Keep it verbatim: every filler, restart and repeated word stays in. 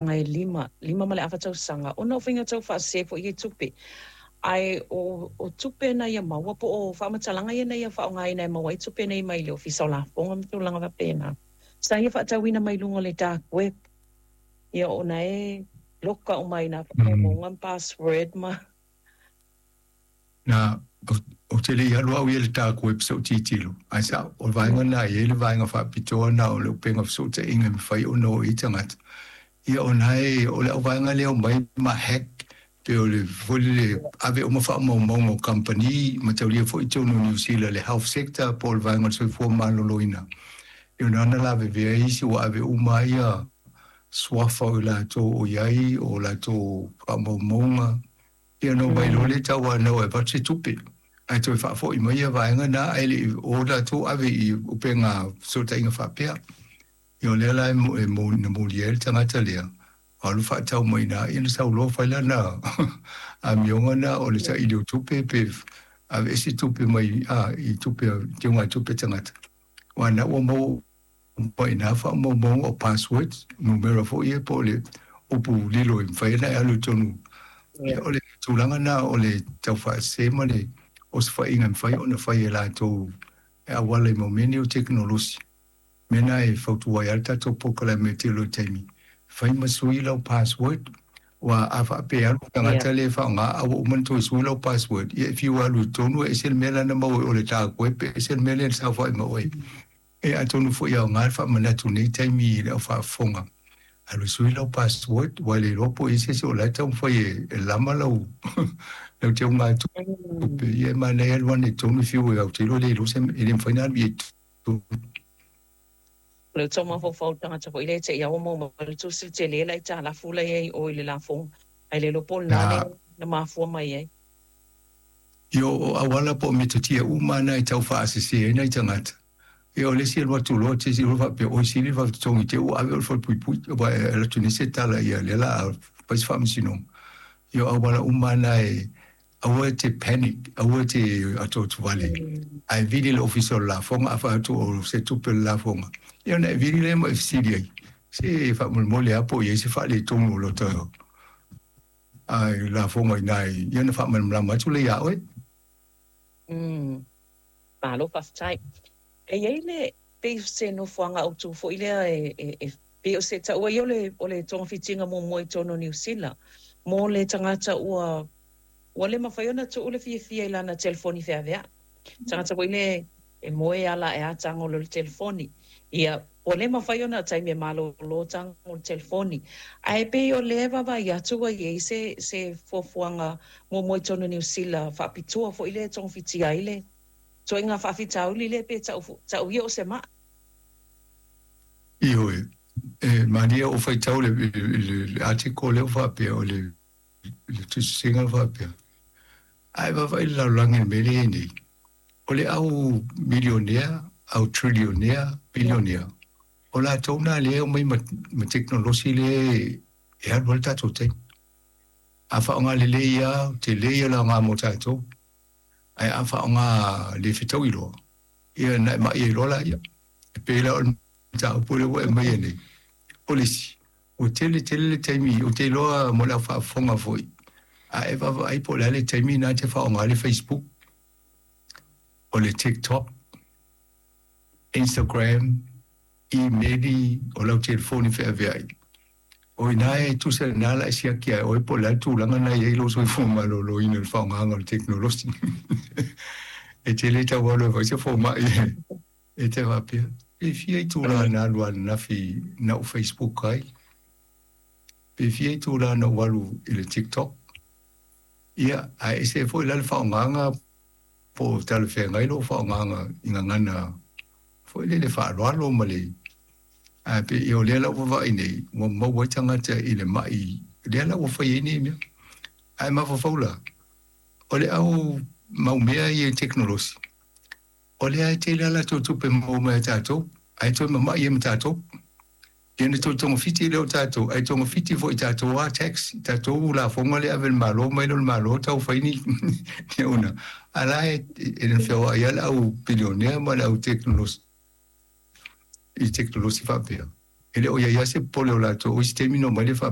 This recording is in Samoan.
E lima, lima ma le afa tausaga ona o faiga taufaasese foi ia i tupe. Ae o, o tupe na ia maua po o faamatalaga ia na ia faaaogaina e maua ai tupe nei mai le Ofisa o Lafoga ma tulaga faapena. Sa ia faatauina mai luga o le dark web. Ia ona e loka uma i nā faamaumauga ma password ma. Na, ou te le i alu au ia i le dark web se i ou tilotilo, ae sao, o le vaega lena e i ai le vaega faapitoa na o le upega fesootaiga e mafai ona oo i ai tagata. Ia ona e o le auvaega lea omai ma hack pe o le foi lele ave uma faamaumauga o kamupani mataulia foi i totonu o Niu Sila le health sector po o le vaega o le soifua maloloina. Ia ona ana lavevea ai isi ua ave uma ai ia suafa o i latou o i ai o latou faamaumauga. Ia ona omai loa lea tauanau e avatu se tupe ae toe faafoi mai ia vaega na ae le i o latou ave i upega fesootaiga faapea. Ia o lea la e na molia ai le tagata lea, alu faatau mai i ina, ia na sau loa fai lana amioga na o le saili o tupe pe aveese tupe mai a i tupe teugatupe a tagata. Aua na ua maua uma i ina faamaumauga o passwords, numera foi ia po o le upu lilo e mafai ona e alu i totonu. Ia o le tulaga na o le taufaasese ma le osofaiga e mafai ona fai e latou e auala i mau mea nei o tekonolosi. Mea na e fautua ai lava le tatou polokalame i le tele o taimi, fai ma sui lau password, aua a faapea e alu le tagata lea e faaaoga a ua uma ona toe sui lau password, ia e fiu e alu i totonu e ese le mea la na maua i o i le dark web, e ese le mea lea na saofai ma oe. E atonu foi e aoga le faamanatu i nei taimi i le au faafofoga, alu e sui lau password, aua e le iloa po o i ai se isi o la e taumafai e lama lau lau teugatupe. Ia e manaia alu ane i totonu e fiu e autilo e le iloa se e le mafai ona alu i ai i totonu. O le tau mafaufau o le tagata foi lea e te i a ua maua mai le tusi tele le aitalafu la i ai i o i le lafoga, ae le iloa po o lena Na lea na mafua mai ai. Ia o auala po o metotia uma na e tau faasese ai nai tagata. Ia o le isi e alu atu loa te isi loa faapea, oi sili le vave totogi te i ua ave oe i le falepuipui, aua e alu atu nei se tala ia lea o le a fai se faamasinoga. Ia o auala uma na e aua e te panic, aua e te atoatovale, ae vili i le Ofisa o le Lafoga, a fai atu o se tupe o le lafoga, ia ona e vili lea ma e fesili ai, se faamolemole lava po o i ai se faaletonu o lota lafoga i ina, ia ona faamalamalama atu lea ia oe. Mm. Malo faafetai. E i ai le pei o se nofoaga autu foi lea e, e, e pei o se taua ia o le, o le togafitiga muamua i totonu o Niu Sila mo le tagata ua ua le mafai ona tuu le fiafia i lana telefoni feaveai. Tagata foi lea e moe ala e a tago loa le telefoni. Ia, ua le mafai ona taimi e malolo tago le telefoni. Ae pei o lea e vaavaai atu ua i ai se, se fuafuaga muamua i totonu o Niu Sila faapitoa foi lea e togafitia ai le ituaiga faafitauli lea pe tau, tau ia o se maa. Ioe, e malie ou faitau i le, le, le article lea ua faapea o le, le tusitusiga faapea. Ae vaavaai i le lalolagi i le mea lea e i ai nei, o le au milionea, au trilionea, bilionea, o latou na lea e omai ma, ma tekonolosi lea e alu ai le tatou taimi. A faaaoga lelei lava, tele ia le aoga mo tatou, ae a faaaoga le fetaui loa, ia ona e mai ai loa laia. E pei la o le mataupu lea ua e aumaia nei, o le isi, ua tele tele le taimi, ou te iloa mo le au faafofoga foi, a e vaavaai po o le a le taimi lena e te faaaoga ai le Facebook, o le TikTok, Instagram, imeli, o lau telefoni feaveai. O i ina e tusa lena la e siaki ai oe po o le a le tulaga na i ai lou soifua maloloina i le faaaogaga o le tekonolosi. E te le tau alu e fai se fomai e te faapea, pe fia itula na alu ananafi na ou Facebook ai, pe fia itula na ou alu i le TikTok. Ia, ae ese foi la le faaaogaga po o talafeagai lou faaaogaga i gagana foi lele faaaloalo ma le ae pei o lea la ua vaavaai nei ua maua ai tagata i le mai lea la ua fai ai nei mea. Ae mafaufau la, o le au mau mea ia i tekonolosi, o lea e tele a latou tupe maua mai ia tatou, ae toe mamai ai ma tatou. Ia ona toe togafiti lea o tatou, ae togafiti foi i tatou a tax, i tatou lafoga lea e ave i le Malo, mai lea o le Malo tau fai ni ni auaunaga, a la e e feoai lava le au bilionea ma le au tekonolosi i tekonolosi faapea. E le o i ai lava se popole o latou, o isi taimi na omai lea faapea.